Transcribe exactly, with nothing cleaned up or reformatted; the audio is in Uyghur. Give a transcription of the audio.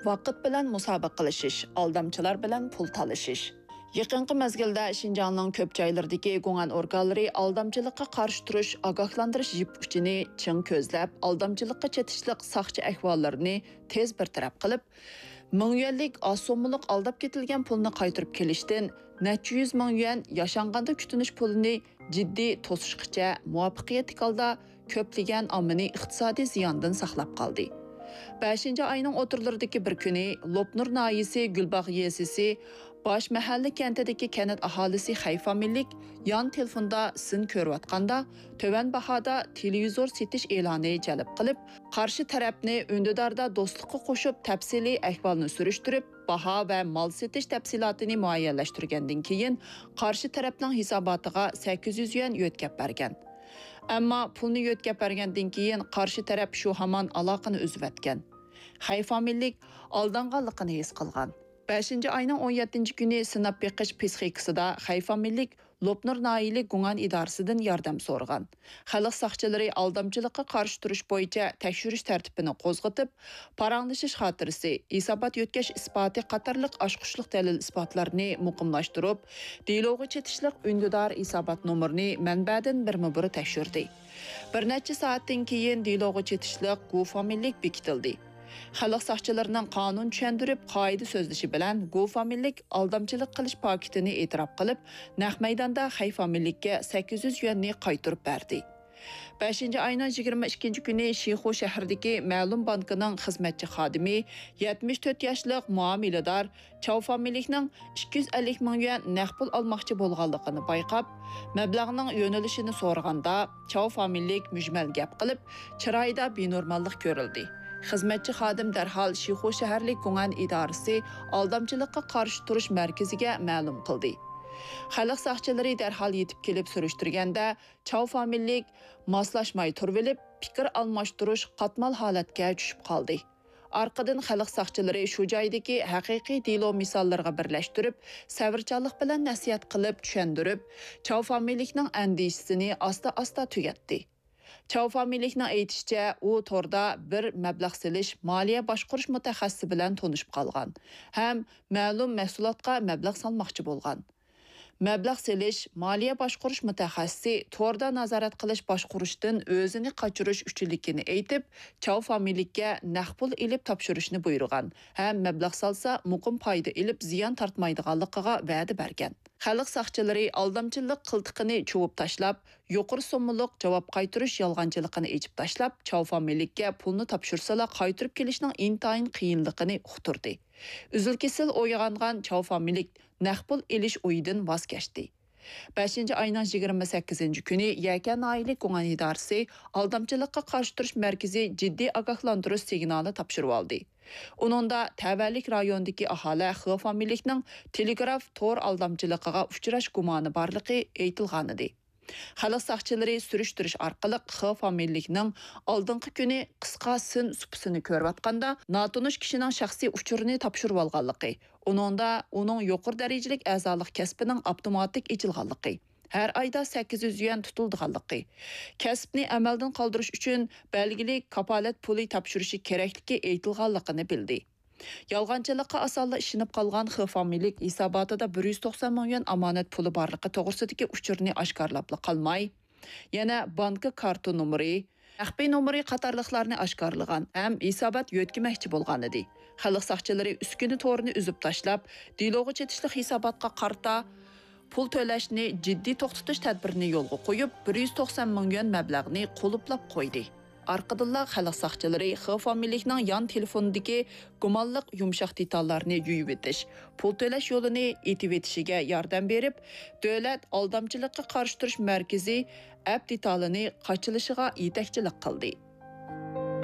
ۋاقىت بىلەن مۇسابىقە قىلىشىش، ئالدامچىلار بىلەن پۇل تالىشىش. يېقىنقى مەزگىلدە شىنجاڭنىڭ كۆپ جايلىرىدىكى گۇڭئەن ئورگانلىرى ئالدامچىلىققا قارشى تۇرۇش ئاگاھلاندۇرۇش يىپ ئۇچىنى چىڭ كۆزلەپ، ئالدامچىلىققا چېتىشلىق ساقچى ئەھۋاللىرىنى تېز بىر تەرەپ قىلىپ، مىڭ يۈەنلىك ئاز سوممىلىق ئالداپ كېتىلگەن پۇلنى قايتۇرۇپ كېلىشتىن نەچچە يۈز مىڭ يۈەن، ياشانغاندا كۈتۈنۈش پۇلىنى جىددىي توسۇشقىچە مۇۋەپپەقىيەتلىك ھالدا كۆپلىگەن ئاممىنى ئىقتىسادىي زىياندىن ساقلاپ قالدى. بەشىنچى ئاينىڭ ئوتتۇرىلىرىدىكى بىر كۈنى لوپنۇر ناھىيەسى گۈلباغ يېزىسى باش مەھەللە كەنتىدىكى كەنت ئاھالىسى خەي فامىلىلىك يان تېلېفوندا سىن كۆرۈۋاتقاندا، تۆۋەن باھادا تېلېۋىزور سېتىش ئېلانى جەلپ قىلىپ، قارشى تەرەپنى ئۈندىداردا دوستلۇققا قوشۇپ، تەپسىلىي ئەھۋالنى سۈرۈشتۈرۈپ، باھا ۋە مال سېتىش تەپسىلاتىنى مۇئەييەنلەشتۈرگەندىن كېيىن، قارشى تەرەپنىڭ ھېساباتىغا سەككىز يۈز يۈەن يۆتكەپ بەرگەن. ئەمما پۇلنى يۆتكەپ بەرگەندىن كېيىن، قارشى تەرەپ شۇ ھامان ئالاقىنى ئۈزۈۋەتكەن. خەي فامىلىلىك ئالدانغانلىقىنى ھېس قىلغان. بەشىنچى ئاينىڭ ئون يەتتىنچى كۈنى سىناپ بېقىش پىسخىكىسىدا خەي فامىلىلىك لوپنۇر ناھىيەلىك گۇڭئەن ئىدارىسىدىن ياردەم سورىغان. خەلق ساقچىلىرى ئالدامچىلىققا قارشى تۇرۇش بويىچە تەكشۈرۈش تەرتىپىنى قوزغىتىپ، پاراڭلىشىش خاتىرىسى، ھېسابات يۆتكەش ئىسپاتى قاتارلىق ئاچقۇچلۇق دەلىل-ئىسپاتلارنى مۇقىملاشتۇرۇپ، دېلوغا چېتىشلىق ئۈندىدار ھېسابات نومۇرىنى مەنبەدىن بىرمۇبىر تەكشۈردى. بىر نەچچە سائەتتىن كېيىن دېلوغا چېتىشلىق گۇ فامىلىلىك بېكىتىلدى. خەلق ساقچىلىرىنىڭ قانۇن چۈشەندۈرۈپ، قائىدە سۆزلىشى بىلەن گۇ فامىلىلىك ئالدامچىلىق قىلىش پاكىتىنى ئېتىراپ قىلىپ، نەق مەيداندا خەي فامىلىلىككە سەككىز يۈز يۈەننى قايتۇرۇپ بەردى. بەشىنچى ئاينىڭ يىگىرمە ئىككىنچى كۈنى شىخۇ شەھىرىدىكى مەلۇم بانكىنىڭ خىزمەتچى خادىمى يەتمىش تۆت ياشلىق مۇئامىلىدار چاۋ فامىلىلىكنىڭ ئىككى يۈز ئەللىك مىڭ يۈەن نەق پۇل ئالماقچى بولغانلىقىنى بايقاپ، مەبلەغنىڭ يۆنىلىشىنى سورىغاندا، چاۋ فامىلىلىك مۈجمەل گەپ قىلىپ، چىرايىدا بىنورماللىق كۆرۈلدى. خىزمەتچى خادىم دەرھال شىخۇ شەھەرلىك گۇڭئەن ئىدارىسى ئالدامچىلىققا قارشى تۇرۇش مەركىزىگە مەلۇم قىلدى. خەلق ساقچىلىرى دەرھال يېتىپ كېلىپ سۈرۈشتۈرگەندە، چاۋ فامىلىلىك ماسلاشماي تۇرۇۋېلىپ، پىكىر ئالماشتۇرۇش قاتمال ھالەتكە چۈشۈپ قالدى. ئارقىدىن خەلق ساقچىلىرى شۇ جايدىكى ھەقىقىي دېلو مىساللىرىغا بىرلەشتۈرۈپ، سەۋرچانلىق بىلەن نەسىھەت قىلىپ، چۈشەندۈرۈپ، چاۋ فامىلىلىكنىڭ ئەندىشىسىنى ئاستا-ئاستا تۈگەتتى. چاۋ فامىلىلىكنىڭ ئېيتىشىچە، ئۇ توردا بىر مەبلەغ سېلىش، مالىيە باشقۇرۇش مۇتەخەسسىسى بىلەن تونۇشۇپ قالغان ھەم مەلۇم مەھسۇلاتقا مەبلەغ سالماقچى بولغان. مەبلەغ سېلىش، مالىيە باشقۇرۇش مۇتەخەسسىسى توردا نازارەت قىلىش باشقۇرۇشتىن ئۆزىنى قاچۇرۇش ئۈچۈنلۈكىنى ئېيتىپ، چاۋ فامىلىلىككە نەق پۇل ئېلىپ تاپشۇرۇشنى بۇيرۇغان ھەم مەبلەغ سالسا، مۇقىم پايدا ئېلىپ، زىيان تارتمايدىغانلىقىغا ۋەدە بەرگەن. خەلق ساقچىلىرى ئالدامچىلىق قىلتىقىنى چۇۋۇپ تاشلاپ، يۇقىرى سوممىلىق جاۋاب قايتۇرۇش يالغانچىلىقىنى ئېچىپ تاشلاپ، چاۋ فامىلىلىككە پۇلنى تاپشۇرسىلا، قايتۇرۇپ كېلىشنىڭ ئىنتايىن قىيىنلىقىنى ئۇقتۇردى. ئۈزۈل-كېسىل ئويغانغان چاۋ فامىلىلىك نەق پۇل ئېلىش ئويىدىن ۋاز كەچتى. بەشىنچى ئاينىڭ يىگىرمە سەككىزىنچى كۈنى يەكەن ناھىيەلىك گۇڭئەن ئىدارىسى ئالدامچىلىققا قارشى تۇرۇش مەركىزى جىددىي ئاگاھلاندۇرۇش سىگنالى تاپشۇرۇۋالدى. ئۇنىڭدا تەۋەلىك رايونىدىكى ئاھالە خې فامىلىلىكنىڭ تېلېگراف تور ئالدامچىلىقىغا ئۇچراش گۇمانى بارلىقى ئېيتىلغانىدى. خەلق ساقچىلىرى سۈرۈشتۈرۈش ئارقىلىق خې فامىلىلىكنىڭ ئالدىنقى كۈنى قىسقا سىن سۇپىسىنى كۆرۈۋاتقاندا، ناتونۇش كىشىنىڭ شەخسىي ئۇچۇرىنى تاپشۇرۇۋالغانلىقى، ئۇنىڭدا ئۇنىڭ يۇقىرى دەرىجىلىك ئەزالىق كەسپىنىڭ ئاپتوماتىك ئېچىلغانلىقى، ھەر ئايدا سەككىز يۈز يۈەن تۇتۇلىدىغانلىقى، كەسىپنى ئەمەلدىن قالدۇرۇش ئۈچۈن بەلگىلىك كاپالەت پۇلى تاپشۇرۇشى كېرەكلىكى ئېيتىلغانلىقىنى بىلدى. يالغانچىلىققا ئاسانلا ئىشىنىپ قالغان خې فامىلىلىك ھېساباتىدا بىر يۈز توقسان مىڭ يۈەن ئامانەت پۇلى بارلىقى توغرىسىدىكى ئۇچۇرنى ئاشكارىلاپلا قالماي، يەنە بانكا كارتا نومۇرى، مەخپىي نومۇرى قاتارلىقلارنى ئاشكارىلىغان ھەم ھېسابات يۆتكىمەكچى بولغانىدى. خەلق ساقچىلىرى ئۈسكۈنە تورىنى ئۈزۈپ تاشلاپ، دېلوغا چېتىشلىق ھېساباتقا قارىتا پۇل تۆلەشنى جىددىي توختىتىش تەدبىرىنى يولغا قويۇپ، بىر يۈز توقسان مىڭ يۈەن مەبلەغنى قۇلۇپلاپ قويدى. ئارقىدىنلا خەلق ساقچىلىرى خې فامىلىلىكنىڭ يان تېلېفونىدىكى گۇمانلىق يۇمشاق دېتاللارنى يۇيۇۋېتىش، پۇل تۆلەش يولىنى ئېتىۋېتىشىگە ياردەم بېرىپ، دۆلەت ئالدامچىلىققا قارشى تۇرۇش مەركىزى ئەپ دېتالىنى قاچىلىشىغا يېتەكچىلىك قىلدى.